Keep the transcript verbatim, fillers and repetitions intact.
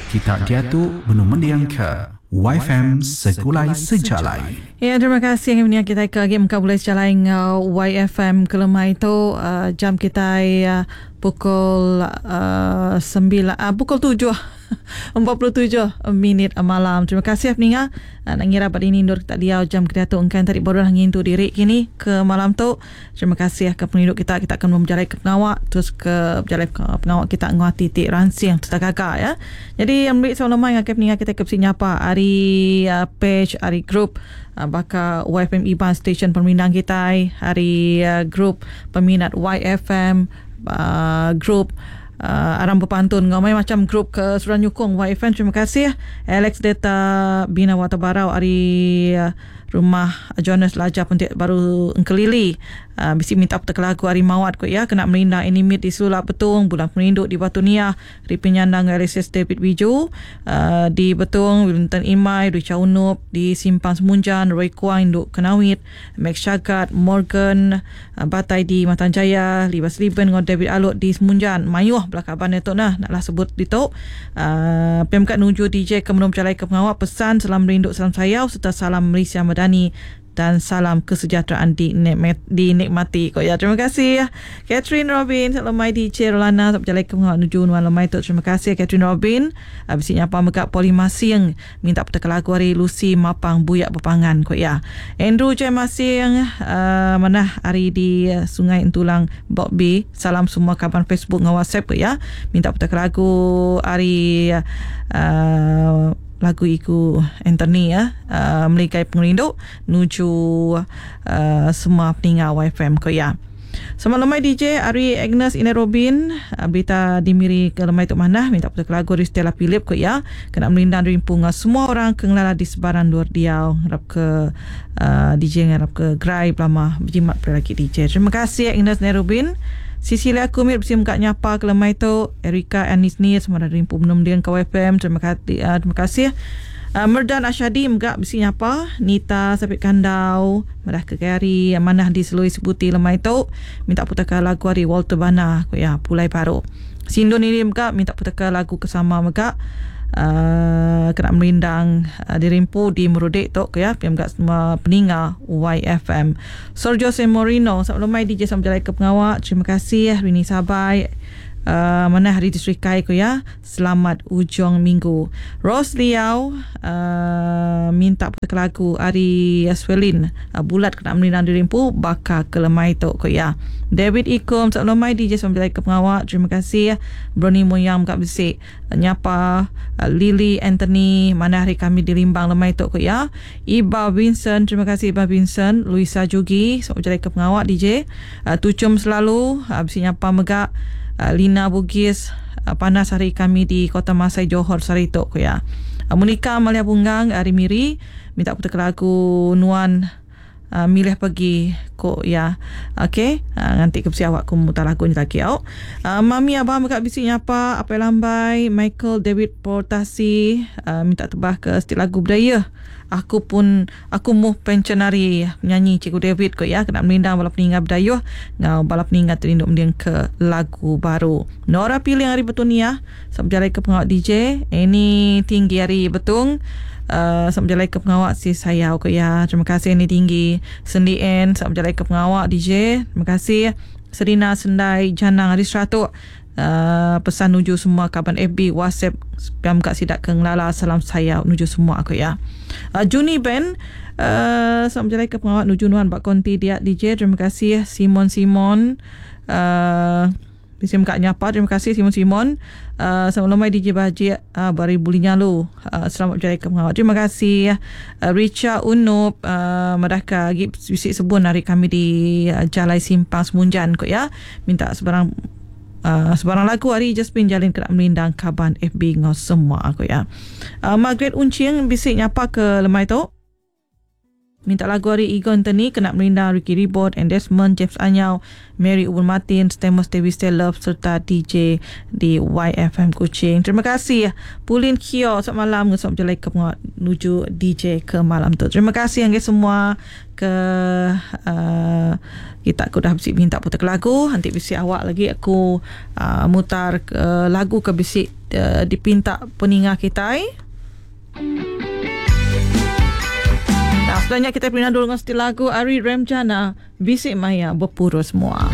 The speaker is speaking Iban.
Kita diatu benung mendingka Y F M Segulai Sejalai. Ya, terima kasih yang kita ke lagi muka boleh sejalai ngau Y F M kelemah itu uh, jam kita uh, pukul uh, sembilan uh, pukul tujuh empat puluh tujuh minit malam. Terima kasih peninga. Uh, nak ngira pada ini indur kita diau jam kita tu engkan tadi baru ngintu diri kini ke malam tu. Terima kasih ke penduduk kita. Kita akan berjalan ke pengawak terus ke berjalan ke pengawak kita nguati tik ransing tetap gagak ya. Jadi yang beri soal lemah dengan peninga kita ke nyapa hari uh, page hari group uh, baka Y F M Iban Station Permindang kita hari uh, group peminat Y F M, uh, group uh, Aram Berpantun ngamai macam grup ke Suran Nyukung Y F M. Terima kasih Alex Deta Bina Watabarau hari uh, rumah Jonas Laja Pentik baru Engkelili, uh, bisi minta petek lagu hari Mawat ko ya, kena merindang animate di Sulap Betung Bulan Perindu di Batu Nia di Penyandang Alexis David Wiju uh, di Betung, Wellington Imai, Richa Unup di Simpang Semunjan, Roy Kuang Induk Kenawit, Max Syagat Morgan uh, Batai di Matanjaya, Libas Liben dengan David Alut di Semunjan. Mayuh belakaban itu nah naklah sebut di tu. uh, P M K nuju D J ke menum jalai ke pengawak pesan salam rindu, salam sayau serta salam Malaysia Madani dan salam kesejahteraan dinikmat, dinikmati kok ya. Terima kasih Catherine Robin, salam mai D J Rolana, sampai jalan ke menuju nuan lemai tu. Terima kasih Catherine Robin. Habis nyapa megak Poli Masing minta petek lagu hari Lucy Mapang Buyak Bepangan kok ya. Andrew J Masing uh, mana hari di Sungai Entulang Bok B. Salam semua kawan Facebook dengan WhatsApp kok ya. Minta petek lagu hari uh, lagu iku Anthony ya, uh, Melikai Pengerindu nuju uh, semua peninga Y F M ko ya. Selamat lemai D J Ari Agnes Ina Robin, uh, berita dimiri ke lemai tu mana minta putar lagu dari Stella Philip ko ya, kena melindang dari punga semua orang ke ngelala di sebaran luar diau. Harap ke uh, D J harap ke gerai belama berjimat lagi D J. Terima kasih Agnes Ina Robin. Cecilia Kumit bersih muka nyapa ke lemai tu. Erika Anis ni semua dari Rimpu Menum Dian ke F M. Terima kasih uh, terima kasih. Uh, Merdan Asyadi mga bisi nyapa. Nita Sapit Kandau Madah ke Gary Manah di Selui Sebuti lemai tu minta putarkan lagu hari Walter Bana ya, Pulai Baru. Sindun ini mga minta putarkan lagu kesama mga uh, kena merindang uh, dirimpu di Merudik tu ya, piam gak semua peninga Y F M. Sergio Morino, selamat lemai D J, sampai jalan ke pengawak. Terima kasih Rini Sabai uh, mana hari di Serikai ko ya. Selamat ujung minggu. Rose Liao uh, minta putar lagu Ari Swelin uh, bulat kena melindang dirimpu bakal kelemai tu ko ya. David Ikum, selamat lemai D J, sampai ke pengawak. Terima kasih. Brony Moyang kat besik nyapa. uh, Lily Anthony mana hari kami di Limbang lemai tu ko ya. Iba Vincent, terima kasih Iba Vincent. Luisa Jugi, selamat berjalan ke pengawak D J. Uh, Tucum selalu uh, besi nyapa megak uh, Lina Bugis, uh, panas hari kami di Kota Masai Johor Saritok ko ya. Uh, Monica Amalia Bunggang hari Miri minta putar lagu Nuan uh, milih pergi ko ya. Okey, uh, nanti ke awak ku mutar lagu ni lagi au. Uh, Mami abang dekat bisi nyapa apa lambai Michael David Portasi uh, minta tebah ke setiap lagu budaya. Aku pun aku muh pensionari penyanyi Cikgu David ko ya, kena melindang bala peninggal berdayuh ngau bala peninggal terinduk mending ke lagu baru. Nora pilih hari betul ni ya. Sampai ke pengawak D J. Ini tinggi hari betung. Uh, sampai jalan ke pengawak si saya ko ya. Terima kasih ini tinggi. Sendi N sampai jalan ke pengawak D J. Terima kasih. Serina Sendai Janang hari Seratuk. Uh, pesan nuju semua kawan F B, WhatsApp, spam kat sidak ke ngelala, salam saya nuju semua aku ya. Uh, Juni Ben uh, selamat berjalan ke pengawak nuju nuan bak konti dia D J. Terima kasih Simon Simon uh, Bisa kat nyapa. Terima kasih Simon Simon. Uh, selamat lemai D J Baji uh, bari buli nyalu. Uh, selamat berjaya ke pengawak. Terima kasih uh, Richard Unup uh, madahka gi bisik sebun hari kami di uh, Jalai Simpang Semunjan kok ya. Minta sebarang Uh, sebarang lagu hari Jasmine Jalin kena melindang kaban F B ngau semua aku ya. Uh, Margaret Uncing bisik nyapa ke lemai tu. Minta lagu ari Igo Anthony kena Merinda, Ricky Ribot, and Desmond, James Anyau, Mary Ubun Martin, Stamos Dewi Love serta D J di Y F M Kuching. Terima kasih Pulin Kio, selamat malam, selamat berjalan ke menuju D J ke malam tu. Terima kasih yang semua ke uh, kita aku dah bisi minta putar lagu. Nanti bisi awak lagi aku uh, mutar ke lagu ke bisi uh, dipinta peninga kita. Nah, sebenarnya kita pindah dulu dengan lagu Ari Remjana, Bisik Maya Berpurus Semua.